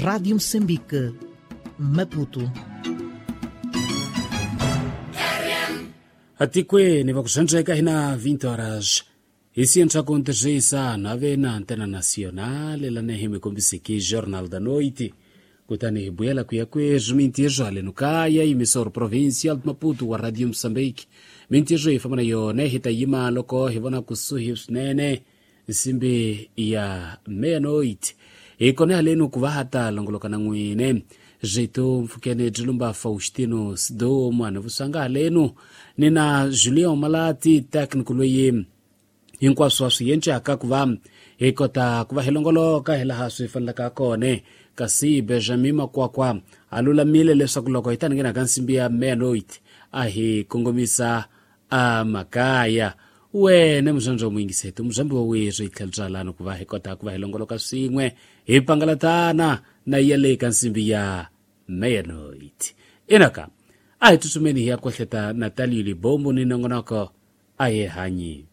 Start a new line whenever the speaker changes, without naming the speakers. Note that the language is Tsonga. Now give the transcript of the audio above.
Rádio Moçambique, Maputo.
Atikweni vakuxandzeka hi na 20 horas hi contegeisa nave na antena nacional lana hi mi kombiseke Jornal da Noite, kutani hi buyela ku ya kweswi mintirho haleno kaya emissor provincial de Maputo wa Radio Moçambique. Mintirho hi famba na yona hi ta yima loko hi vona kusuhi swinene nsimbi ya meia-noite, hi kona haleno ku va ha ta longoloka na n'wine Jeito Mfukene Dilumba Faustino Sido mwana vusanga haleno ni na Julian Malati técnico loyi hinkwaswo swi yencaka ku va hi kota ku va hi longoloka hi laha swi fanelaka kona. Kasi Benjamin Makwakwa a lulamile leswaku loko hi ta nghena ka nsimbi ya meia-noite a hi kongomisa a makaya. Wena muzvandzi wa muyingiseti muzvambi wa weswi hi tlhela byalano ku va hi kota ku va hi longoloka swin'we hi pangalatana na ya le ka nsimbi ya meia-noite. Inaka a hi tsutsumeni hi ya kwehleta Natalio Libombo ni nongonoko a hi hanyi.